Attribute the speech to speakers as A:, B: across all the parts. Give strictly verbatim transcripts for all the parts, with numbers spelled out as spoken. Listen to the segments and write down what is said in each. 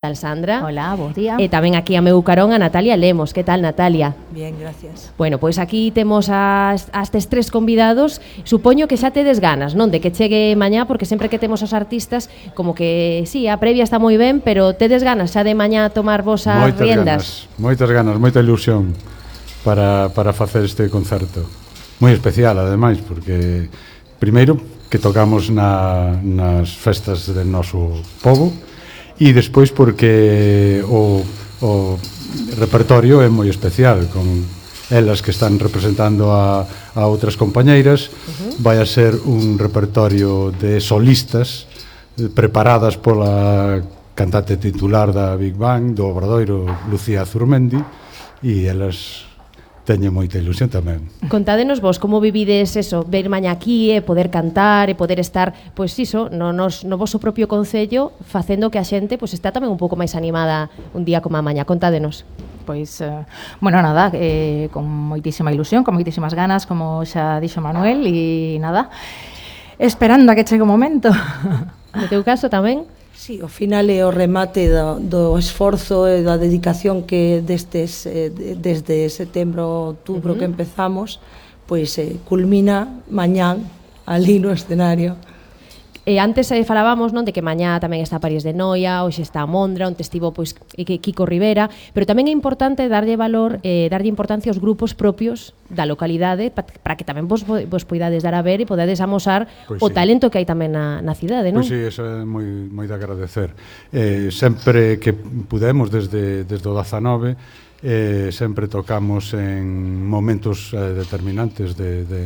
A: Tal Sandra.
B: Hola, bos día.
A: E tamén aquí a meu carón a Natalia Lemos. Que tal, Natalia?
C: Bien, gracias.
A: Bueno, pois aquí temos as, as tes tres convidados. Supoño que xa tedes ganas, non? De que chegue mañá, porque sempre que temos os artistas, como que, sí, a previa está moi ben, pero tedes ganas xa de mañá tomar vos as
D: moitas
A: riendas?
D: Ganas, moitas ganas, moita ilusión para, para facer este concerto. Moi especial, ademais, porque primeiro que tocamos na, nas festas del noso pobo, e despois porque o, o repertorio é moi especial, con elas que están representando a, a outras compañeiras. Uh-huh. Vai a ser un repertorio de solistas preparadas pola cantante titular da Big Bang, do Obradoiro, Lucía Zurmendi, e elas teñen moita ilusión tamén.
A: Contádenos vos como vivides eso, ver mañá aquí e poder cantar e poder estar, pois iso, no, nos, no voso propio concello, facendo que a xente pois está tamén un pouco máis animada un día como a mañá. Contádenos.
B: Pois, eh, bueno, nada, eh, con moitísima ilusión, con moitísimas ganas, como xa dixo Manuel, e nada, esperando a que chegue o momento.
A: No teu caso tamén?
C: Sí, ao final é o remate do, do esforzo e da dedicación que destes, eh, desde setembro, outubro, uh-huh, que empezamos, pois eh, culmina mañán ali no escenario.
A: E antes eh, falábamos, non, de que mañá tamén está París de Noia, hoxe está a Mondra, onde estivo pois Kiko Rivera, pero tamén é importante darlle valor, eh, darlle importancia aos grupos propios da localidade para que tamén vos, vos poidades dar a ver e podades amosar pois o sí, talento que hai tamén na, na cidade, non?
D: Pois sí, eso é moi, moi de agradecer. Eh, sempre que pudemos, desde, desde o dezanove, eh, sempre tocamos en momentos eh, determinantes de, de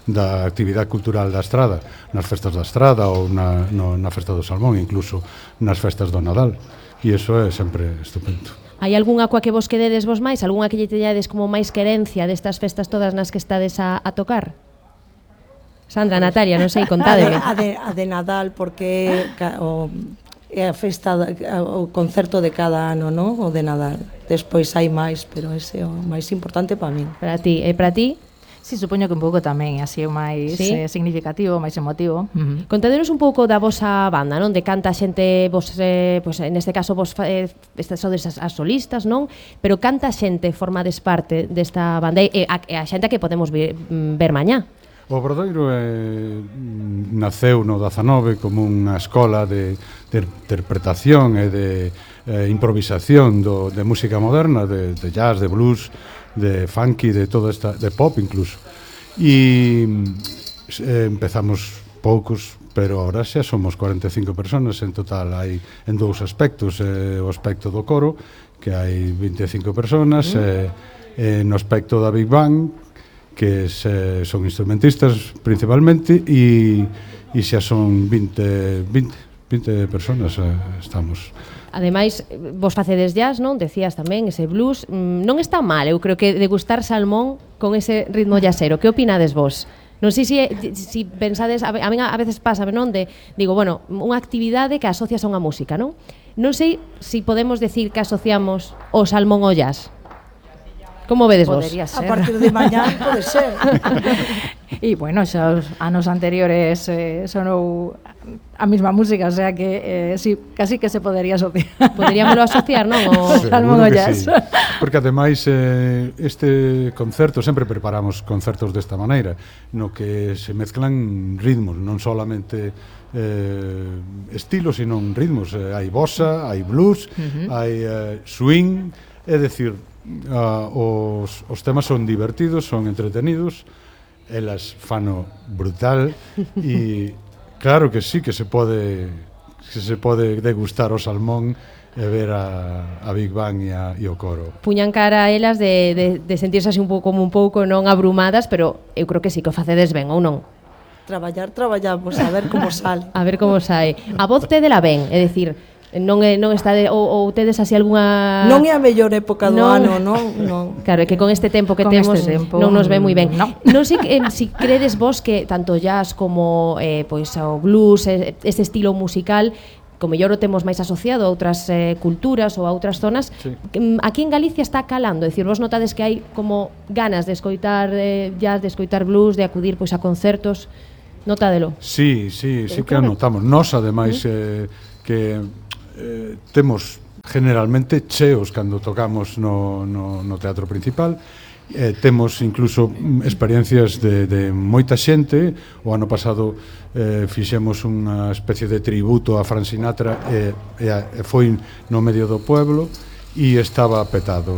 D: da actividade cultural da Estrada, nas festas da Estrada ou na, no, na festa do Salmón, incluso nas festas do Nadal, e iso é sempre estupendo.
A: Hai algunha coa que vos quededes vos máis? Algunha que lle teñades como máis querencia destas festas todas nas que estades a, a tocar? Sandra, Natalia, non sei, contádeme.
C: A de, a de, a de Nadal, porque o, é a festa, o concerto de cada ano, non? O de Nadal. Despois hai máis, pero ese é o máis importante para min.
A: Para ti, e para ti?
B: Sí, supoño que un pouco tamén, así é o máis ¿sí? eh, significativo, máis emotivo. Uh-huh.
A: Contadenos un pouco da vosa banda, non? De canta xente, vos, eh, pues, en este caso, vos eh, estas sodes as, as solistas, non? Pero canta xente formades parte desta banda e a, a xente que podemos ver, ver mañá.
D: O Obradoiro eh, naceu no dezanove como unha escola de, de interpretación e de eh, improvisación do, de música moderna, de, de jazz, de blues, de funky, de toda esta, de pop incluso. E eh, empezamos poucos, pero ahora xa somos cuarenta e cinco personas en total. Hai en dous aspectos, eh, o aspecto do coro, que hai vinte e cinco personas, mm. eh, eh, no aspecto da Big Bang, que se, son instrumentistas principalmente, e, e xa son vinte, vinte, vinte personas eh, estamos.
A: Ademais, vos facedes jazz, non? Decías tamén, ese blues. Non está mal, eu creo que degustar salmón con ese ritmo jazzero. Que opinades vos? Non sei se, si pensades, a mí a veces pasa, non? De, digo, bueno, unha actividade que asocias a unha música, non? Non sei se si podemos decir que asociamos o salmón ao jazz. Como vedes vos?
B: Podría ser.
C: A partir de mañá pode ser.
B: E, bueno, xa os anos anteriores eh, sonou a mesma música, o sea que eh, sí, casi que se podería asociar.
A: Poderíamoslo asociar, non? O
B: salmón o jazz.
D: Sí. Porque ademais eh, este concerto, sempre preparamos concertos desta maneira, no que se mezclan ritmos, non solamente eh, estilos, sino ritmos. Eh, hai bossa, hai blues, uh-huh, hai eh, swing, é dicir, uh, os, os temas son divertidos, son entretenidos, elas fano brutal, e claro que sí que se pode que se pode degustar o salmón e ver a, a Big Bang e, a, e o coro.
A: Puñan cara a elas de, de, de sentirse así un pouco como un pouco non abrumadas, pero eu creo que sí que o facedes ben, ou non?
C: Traballar, traballamos, a ver como sale.
A: A ver como sai. A voz tedela ben, é dicir, non é non está de, ou, ou tedes así algunha.
C: Non é a mellor época do
A: non,
C: ano, non, non.
A: Claro, é que con este tempo que
B: con
A: temos
B: este tempo,
A: non nos ve moi ben.
B: No.
A: Non sei eh, si credes vos que tanto jazz como eh, pois o blues, eh, este estilo musical, como mellor o temos máis asociado a outras eh, culturas ou a outras zonas, sí, aquí en Galicia está calando, é dicir, vos notades que hai como ganas de escoitar eh, jazz, de escoitar blues, de acudir pois a concertos. Notádelo.
D: Sí, sí, sí que anotamos. Nós, ademais, uh-huh, eh, que eh, temos generalmente cheos cando tocamos no, no, no teatro principal. Eh, temos incluso experiencias de, de moita xente. O ano pasado eh, fixemos unha especie de tributo a Frank Sinatra e, e, e foi no medio do pueblo e estaba petado.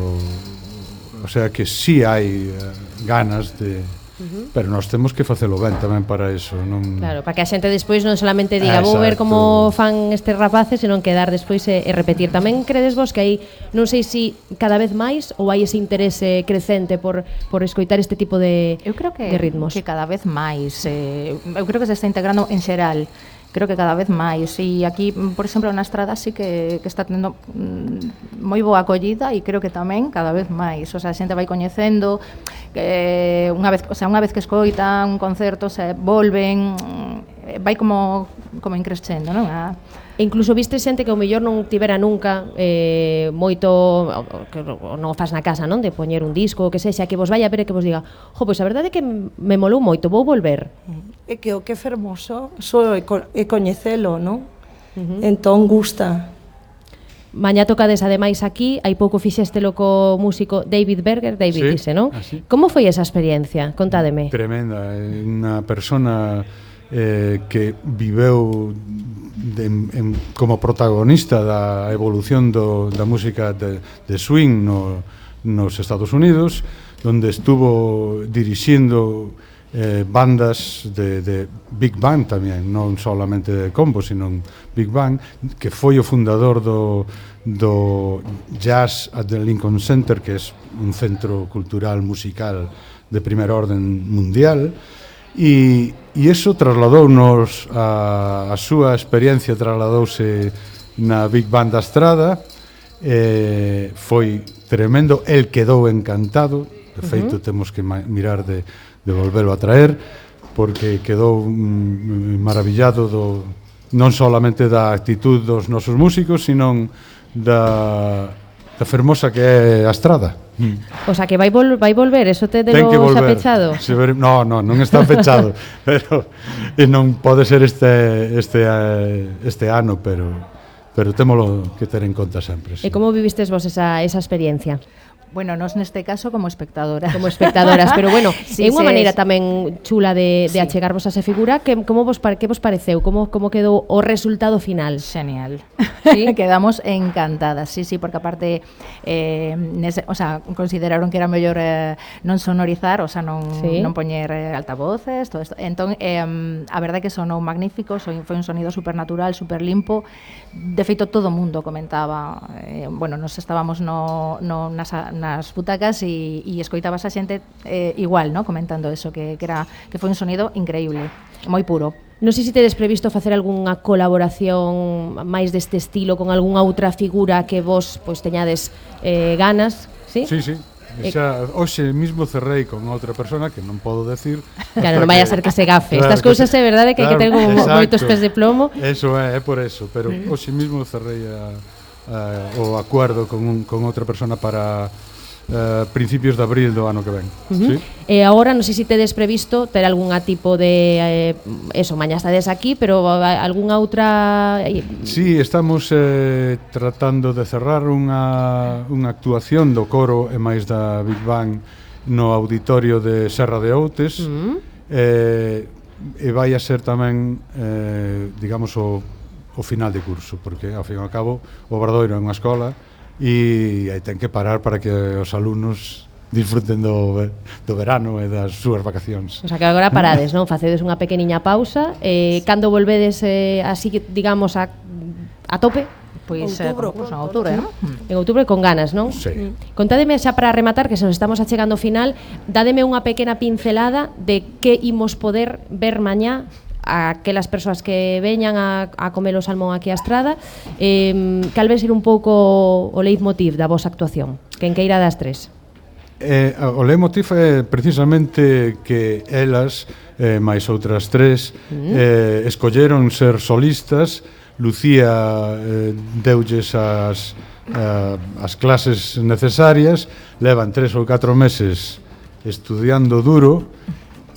D: O sea que sí hai eh, ganas de... Uh-huh. Pero nós temos que facelo ben tamén para eso, non...
A: Claro, para que a xente despois non solamente diga vou ver como fan estes rapaces, senón quedar despois e, e repetir. Tamén credes vos que hai, non sei se si cada vez máis ou hai ese interese crecente por, por escoitar este tipo de,
B: eu creo que,
A: de ritmos?
B: Que cada vez máis, eh, eu creo que se está integrando en xeral. Creo que cada vez máis, e aquí, por exemplo, na Estrada sí que, que está tendo mm, moi boa acollida, e creo que tamén cada vez máis, o sea, a xente vai coñecendo que unha vez, o sea, unha vez que escoitan un concerto, se volven, vai como como increscendo, non? A
A: E incluso viste xente que o mellor non tivera nunca eh, moito, que non o faz na casa, non? De poñer un disco, o que sexa, que vos vai a ver e que vos diga, jo, pois a verdade é que me molou moito, vou volver.
C: É que o que é fermoso só é, co é coñecelo, non? Uh-huh. Entón gusta.
A: Mañá tocades ademais aquí, hai pouco fixéstelo co músico David Berger, David
D: sí,
A: dice, non?
D: Así.
A: Como foi esa experiencia? Contádeme.
D: Tremenda, unha persona eh, que viveu de, en, como protagonista da evolución do, da música de, de swing no, nos Estados Unidos, donde estuvo dirixindo eh, bandas de, de Big Band tamén, non solamente de combo, sino Big Band, que foi o fundador do, do Jazz at the Lincoln Center, que é un centro cultural musical de primer orden mundial, e, e iso trasladounos a, a súa experiencia, trasladouse na Big Band da Estrada, eh, foi tremendo, el quedou encantado, de feito uh-huh. temos que mirar de, de volvelo a traer, porque quedou mm, maravillado do, non solamente da actitud dos nosos músicos, sino da, da fermosa que é a Estrada.
A: Mm. O sea, que vai, vol vai volver, eso te de lo xa pechado?
D: Se ver, no, no, non está pechado, pero e non pode ser este este este ano, pero pero témolo que ter en conta sempre.
A: Sí. E como vivistes vos esa esa experiencia?
B: Bueno, nos neste caso como espectadoras.
A: Como espectadoras, pero bueno,
B: sí,
A: é unha
B: sí,
A: maneira
B: es...
A: tamén chula de, de
B: sí.
A: achegarvos a esa figura. Que, como vos, que vos pareceu? Como, como quedou o resultado final?
B: Genial.
A: ¿Sí?
B: Quedamos encantadas, sí, sí, porque aparte eh, nese, o sea, consideraron que era mellor eh, non sonorizar, o sea, non, sí. non poñer eh, altavoces, todo isto. Entón, eh, a verdade que sonou magnífico, foi un sonido supernatural, super limpo. De feito, todo o mundo comentaba, eh, bueno, nos estábamos no, no, nas, nas butacas e, e escoitabas a xente eh, igual, ¿no? Comentando eso, que, que, era, que foi un sonido increíble, moi puro.
A: Non sei se tedes previsto facer algunha colaboración máis deste estilo con algunha outra figura que vos pois teñades eh, ganas, sí?
D: Sí, sí. Xa, hoxe mismo cerrei con outra persona que non podo decir.
A: Claro, non vai a ser que se gafe. Claro, estas cousas é verdade que claro, hai que ter como exacto. moitos pés de plomo.
D: Eso é, é por eso, pero hoxe mismo cerrei a, a, o acuerdo con, un, con outra persona para Uh, principios de abril do ano que ven.
A: Uh-huh. ¿Sí? E agora non sei se tedes previsto ter algunha tipo de eh, eso, mañá estades aquí, pero algunha outra.
D: Sí, estamos eh, tratando de cerrar unha, unha actuación do coro e máis da Big Bang no auditorio de Serra de Outes. Uh-huh. eh, e vai a ser tamén eh, digamos o, o final de curso, porque ao fin e ao cabo o Obradoiro é unha escola e aí ten que parar para que os alumnos disfruten do, do verano e das súas vacacións.
A: O sea, que agora parades, non? Facedes unha pequeniña pausa, eh, cando volvedes eh, así, digamos, a, a tope?
B: Pois eh, en outubro, non?
A: En outubro con ganas, non?
D: Sí.
A: Contádeme xa para rematar, que se nos estamos achegando ao final, dádeme unha pequena pincelada de que imos poder ver mañá a aquelas persoas que veñan a, a comer o salmón aquí á Estrada, eh, cal vai ser un pouco o leitmotiv da vosa actuación? Quen queira das tres?
D: Eh, o leitmotiv é precisamente que elas, eh, máis outras tres, mm. eh, escolleron ser solistas. Lucía eh, deulles as, eh, as clases necesarias, levan tres ou catro meses estudiando duro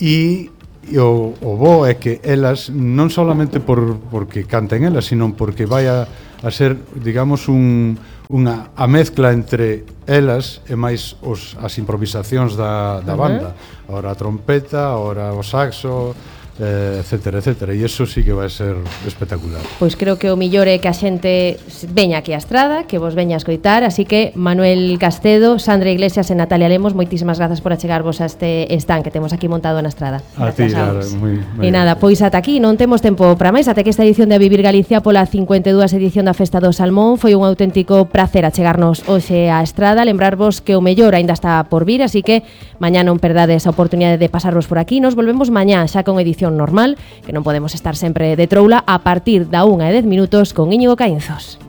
D: e E o, o bo é que elas, non solamente por, porque canten elas, sino porque vai a, a ser, digamos, un, unha a mezcla entre elas e máis os, as improvisacións da, da banda. Ahora a trompeta, ahora o saxo, eh, etcétera, etcétera, e iso sí que vai ser espectacular.
A: Pois creo que o millor é que a xente veña aquí a Estrada, que vos veña a escoitar, así que Manuel Castedo, Sandra Iglesias e Natalia Lemos, moitísimas grazas por achegarvos a este stand que temos aquí montado na Estrada.
D: A ti, Lara, moi,
A: E
D: moi
A: nada, pois ata aquí non temos tempo para máis, ata que esta edición de A Vivir Galicia pola cincuenta e dúas edición da Festa do Salmón foi un auténtico prazer achegarnos hoxe á Estrada, lembrarvos que o mellor aínda está por vir, así que mañá non perdades a oportunidade de pasarvos por aquí. Nos volvemos mañá xa con edición normal, que non podemos estar sempre de troula, a partir da unha e dez minutos con Íñigo Caínzos.